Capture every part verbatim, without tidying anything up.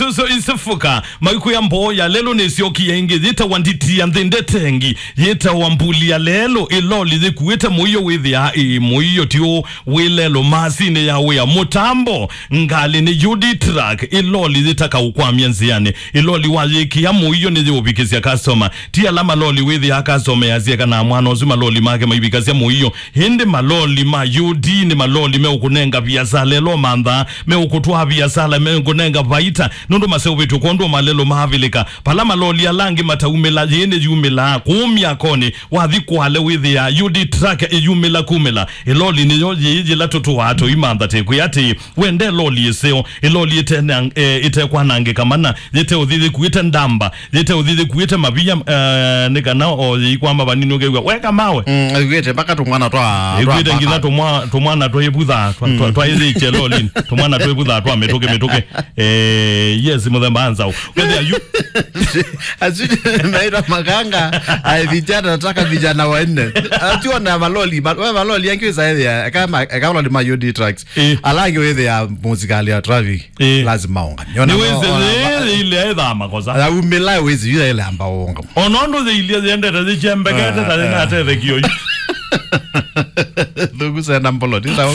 Isuzu East Africa, maikwĩa mboo ya lelũ nĩsyokie ĩngĩ, yĩtawa Nditi ya Nthĩ Ndetengi, yĩtawa Mbuli ya lelũ, ĩloli yĩkuĩte mũio wĩthĩaa ĩ mũio ti ũ wĩ lelũ masinĩ ya wĩa mũtambo, ngalĩ nĩ U D truck, ĩloli yĩtaka ũkwamya nzĩanĩ, ĩloli wayĩkĩa mũio nĩyĩũvikĩsya customer, ti ala maloli wĩthĩaa customer yasye kana mwana ũsu maloli make maivikasya mũio, ĩndĩ maloli ma U D nĩ maloli meũkũnenga viasala ĩla ũmanthaa, meũkũtwaa viasala, meũkũnenga vaita, nũndũ maseũvĩtw'e kwondũ malelũ ma Avilika. Vala maloli ala angĩ mataumĩla, yĩĩ nĩyumĩlaa kũu myakonĩ, wathi Kwale wĩthĩaa U D truck ĩyumĩla kumĩla. Ĩloli nĩyo yĩĩ yĩla tũtũaa tũimantha tĩkwĩa atĩĩ, wende ĩloli ĩseo, ĩloli ĩtena-, eh, ĩtekwanangĩka mana, yĩteũthi yĩkuĩte ndamba, yĩteũthi yĩkuĩte mavia, eh, nĩ kana o yĩikwama vanini ũkew'a weka mawe. Mm, ĩkuĩte mpaka tũmwana twa, twa ĩkuĩte nginya papa. Tũmwa-, tũmwana twa ĩvutha, twa, twa, mm, twa ĩthĩkye lolini, tũmwana twa ĩvutha twa mĩtũkĩ, mĩtũkĩ. Eh, yes, mũthemba anza. Wende ayu. Asu naitwa makanga, ai vijana, nataka vijana wanne. Ationa maloli, ma-, we maloli yangi wĩsa ethĩa, eka ma-, eka maloli ma U D trucks. Eh. Ala angĩ wĩthĩa mũsikali ya traffic. Eh. Lazima onga. Nĩwĩsĩ yĩĩ ile ethaa makosa. Aumĩla wĩsĩ yu ile amba onga. Ona ũndũ yĩilia yendete yĩkyembekete, ah, ta yĩna, ah, atethekia ũyu. Thuku sena mbolo, ti sawa.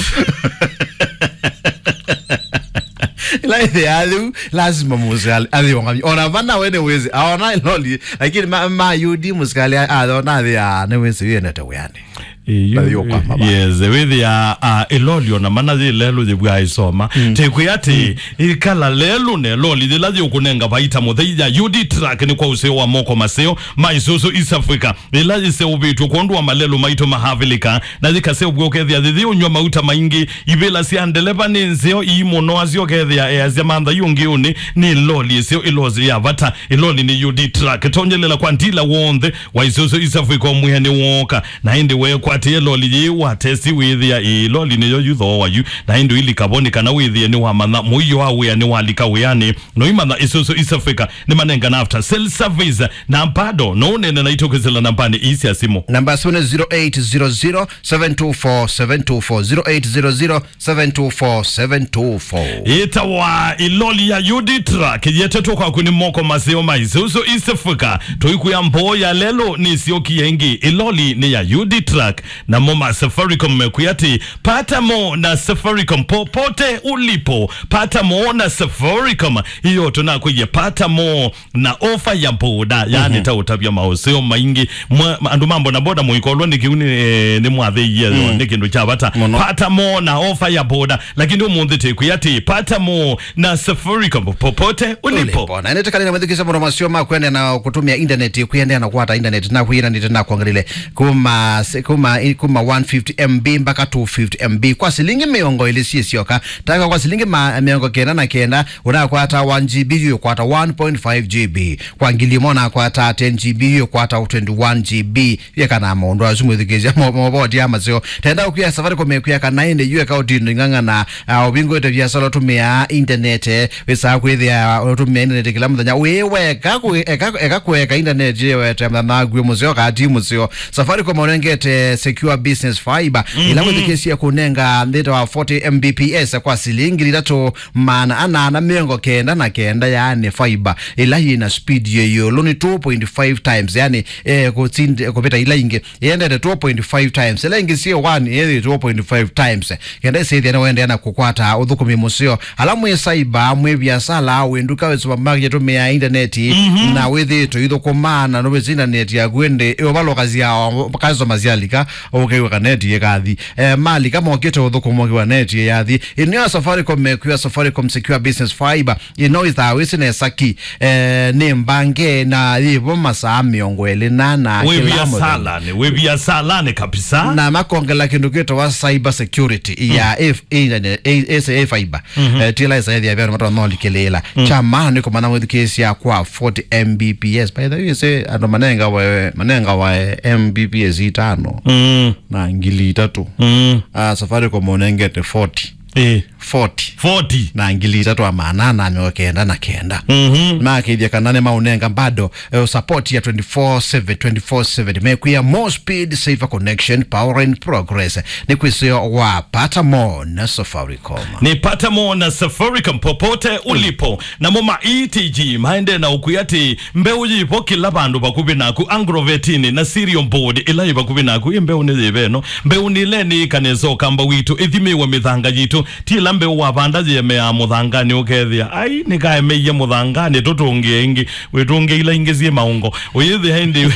Ila ĩthĩa yĩu, lazima mũsikali athi onga. Ona vana we nĩwĩsĩ, aona loli, lakini ma, ma U D mũsikali a-, aona athi, ah, nĩwĩsĩ yendete wĩanĩ. Ĩĩ, na yu-, yũkwama va? Yes, wĩthĩa, ah, ĩloli ona mana yĩ lelũ yĩvw'a ĩsoma. Mm. Tĩkwĩa atĩ, mm, ĩkala lelũ na ĩloli yĩla yĩũkũnenga vaita mũthei ya U D truck nĩ kwa ũseo wa moko maseo ma Isuzu East Africa, ĩla yĩseũvĩtw'e kwondũ wa malelũ maitũ ma Avilika, na yĩkaseũvw'a ũkethĩa yĩyĩ ũnyw'a mauta maingĩ, ivĩla sya ndeleva nĩ nzeo ii mũno, asyo ũkethĩa easya mantha yu ngĩũnĩ, nĩ ĩloli ĩseo, ĩloli ya vata, ĩloli nĩ U D truck. Tonyelela kwa ndila w'onthe wa Isuzu East Africa ũmwĩe nĩ wooka. Na ĩndĩ weekwatĩe loli yĩĩ watesti wĩthĩa ĩĩ loli nĩyo yu thooa yu. Na ĩndĩ ũilika vo nĩ kana wĩthĩe nĩwamanya mũio wa wĩa nĩwalika wĩanĩ. Noimanya Isuzu East Africa nĩmanengana after sale service. Na bado no ũneene naitũ kwĩsĩla nambanĩ ii sya simũ. Namba ya simũ nĩ zero eight zero zero, seven two four, seven two four, zero eight zero zero, seven two four, seven two four. Ĩtawa ĩloli ya U D truck yetetwe kwaku nĩ moko maseo ma Isuzu East Africa. Tũikwĩa mboo ya lelũ nĩsyokie ĩngĩ. Ĩloli nĩ ya U D truck. Namo ma Safaricom mekwĩa atĩ, pata mo na Safaricom popote ulipo. Pata mo na Safaricom. Hiyo tunakwĩie pata mo na ofa ya boda, yani, mhm, ta ũtavya maũseo maingĩ. Mwa-, andũ ma bodaboda mũikolwa nĩ kĩu nĩ, eh, nĩ mwathĩie, mm, nĩ kĩndũ kya vata. Mũno. Pata mo na ofa ya boda, lakini ũmũnthĩ tĩkwĩa atĩ pata mo na Safaricom popote ulipo. Ulipo. Na nĩtĩkale na mwĩthukĩsya mũno masio ma kwendea na kũtũmĩa intaneti, kwendea na kwata intaneti na kwĩananĩte na kwongelile kuma se-, kuma, kuma one fifty M B mpaka two fifty M B kwa silingi mĩongo ĩlĩ syĩ syoka. Taka kwa silingi ma-, mĩongo kenda na kenda, ũnakwata one G B, yu ũkwata one point five G B. Kwa ngili ĩmwe ũnakwata ten G B, yu ũkwata twenty-one G B. Yekana maũndũ asu mwĩthukĩĩsya mo-, movoti ya maseo. Tenda ũkwĩa Safaricom ĩkwĩa kana ĩndĩ yu eka ũtindo ing'ang'ana, ah, ũvingũĩte viasala ũtũmĩaa intaneti, wĩsaa kwĩthĩa ũtũmĩa intaneti kĩla mũthenya. Wĩ weka kũ-, eka, eka kũeka intaneti ĩwete mũthenya waku wĩ mũseo, kaa ti mũseo. Safaricom ũnengete Secure Business Fiber, ĩla, mhm, wĩthukĩĩsye kũnenga nthĩnĩ wa forty M B P S kwa silingi ngili itatũ maana ana na mĩongo kenda na kenda, yaani fiber ĩla yĩna speed yĩ ĩũlũ nĩ two point five times, yaani, eh, kũtindi-, kũvĩta ila ingĩ, yendete two point five times, ila ingĩ syĩ one, ĩĩ two point five times. Kenda ĩsĩthĩa nĩwendeea na kũkwata ũthũkũmi mũseo. Ala mwĩ saiba, mwĩ viasala, wĩ nduka, wĩ supermarket, tũmĩaa intaneti, mhm, na wĩthĩĩtwe ithũkũma, na nũvĩsĩ intaneti yaku ĩndĩ ĩũvalũkasya o, customer syalika, ũkew'a kaneti ĩkathi. Eh, malika mokĩte ũthũkũma ũkew'a neti ĩyathi. Ĩnĩo Safaricom mekwĩa Safaricom Secure Business Fiber. Ĩno ĩthaa wĩsĩ nesa ki, eh, nĩ mbange na yĩvo masaa mĩongo ĩlĩ na ana wĩ kĩla mũthenya. Viasalanĩ, wĩ viasalanĩ kabisa. Na makongela kĩndũ kĩtawa cyber security ya, mm, F-, internet, A-, A C A fiber. Mhm. Eh, tila ĩsaĩthĩa vya matwa nolikĩlĩĩla. Mm. Kya maana nĩ kũmanya mwĩthukĩĩsya kwa forty M B P S. By the way, ĩsĩ andũ manengawa, manengawa M B P S itano, mm, na ngili itatũ. Mm. Ah, Safaricom ũnengete forty. Eh. Forty. Forty. Na ngili itatũ na maana anana mĩongo kenda na kenda. Mhm. Makĩthya kana nĩ maũnenga bado, eh, support ya twenty-four seven, twenty-four seven. Mekwĩa more speed, safer connection, power and progress. Nĩ kwĩsĩo wa Pata More na Safaricom. Ni Pata More na Safaricom popote ulipo. Namo ma E T G maendee na ũkwĩa atĩ mbeũ yĩvo kĩla vandũ vakuvĩ naku, agrovetini na cereal board ĩla yĩ vakuvĩ naku. Ĩ mbeũ nĩ yĩva ĩno? Mbeũ nĩ ĩla nĩ ĩkanesa ũkamba witũ, ĩthimĩwe mĩthanga yitũ. Ti ĩla mbeũ wavanda yĩemeaa mũthanganĩ ũkethĩa, ai, nĩkaemeie mũthanganĩ, tũtũngĩe ĩngĩ. Wĩtũngĩe ila ingĩ syĩ maũngo. Ũyĩthĩa ĩndĩ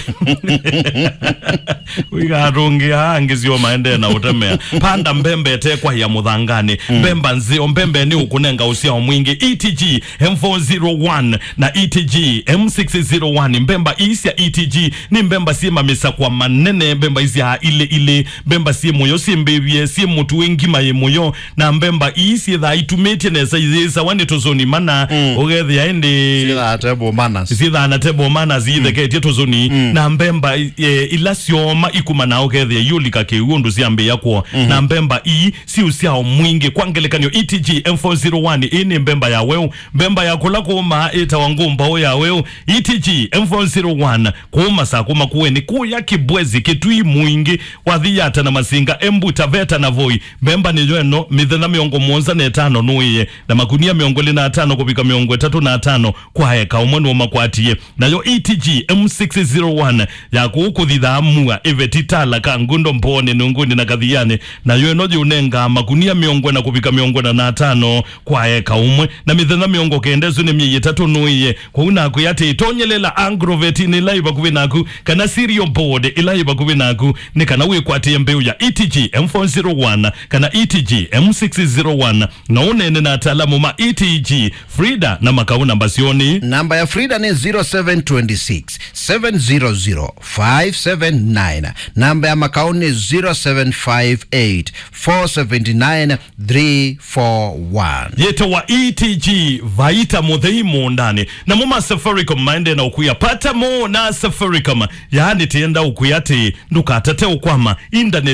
ũigatũngĩa angĩ syo maendee na ũtemea. Panda mbembe ĩtekwaĩa mũthanganĩ. Mm. Mbemba nzeo, mbembe nĩ ũkũnenga ũsyao mwingĩ. E T G M four zero one na E T G M six zero one. Mbemba ii sya E T G nĩ mbemba syĩ mamisakwa manene, mbemba isyaa ilĩ ilĩ, mbemba syĩ mũyo, syĩ mbĩvye, syĩ mũtu, wĩ ngima yĩ mũyo, na mbemba ii syĩthaa itumĩtye nesa, iyĩsawa nĩ tũsũni mana, mm, ũkethĩa ĩndĩ syĩthaa table manners. Syĩthaa na table manners, mm, itheketye tũsũni, mm, na mbemba, eh, ila syoma ikumanaa ũkethĩa iũlika kĩu ũndũ syambĩĩa kũo, mm-hmm, na mbemba ii syĩ ũsyao mwingĩ. Kwa ngelekany'o, E T G M four zero one ĩĩ nĩ mbemba ya weũ. Mbemba ya kũla kũũmaa ĩtawa ngũmbaũ ya weũ. E T G M four zero one, kũũma saa kũma kũeni, kũya Kĩbwezi, Kĩtui, Mwingĩ, wathi Yata na Masinga, Embu, Taveta na Voi. Mbemba nĩyo ĩno, mĩthenya mĩongo mũonza na ĩtano nũĩe, na makunia mĩongo ĩlĩ na atano kũvika mĩongo ĩtatũ na atano kwa eka ũmwe nũmakwatie. Nayo E T G M six zero one ya kũu kũthithaa Mua, Iveti, Tala, Kangundo, Mbooni, Nunguni na Kathiani. Nayo ĩno yĩũnengaa makunia mĩongo ĩna kũvika mĩongo ĩna na atano kwa eka ũmwe, na mĩthenya mĩongo kenda ĩsu nĩ myei ĩtatũ nũĩe. Kwoou nakwĩa atĩ, tonyelela agrovetinĩ ĩla yĩ vakuvĩ naku, kana cereal board ĩla yĩ vakuvĩ naku, nĩ kana wĩkwatĩe mbeũ ya E T G M four zero one kana E T G M six zero one, na ũneene na ataalamu ma E T G. Frida na Makau namba syoo nĩ? Namba ya Frida nĩ zero seven twenty six, seven zero zero, five seven nine. Namba ya Makau nĩ zero seven five eight, four seven nine, three four one. Yĩtawa E T G, vaita mũthei mũũndanĩ. Namo ma Safaricom maendee na ũkwĩa, Pata More na Safaricom. Yaani, tĩenda ũkwĩa atĩ ndũkatate ũkwama indaneti.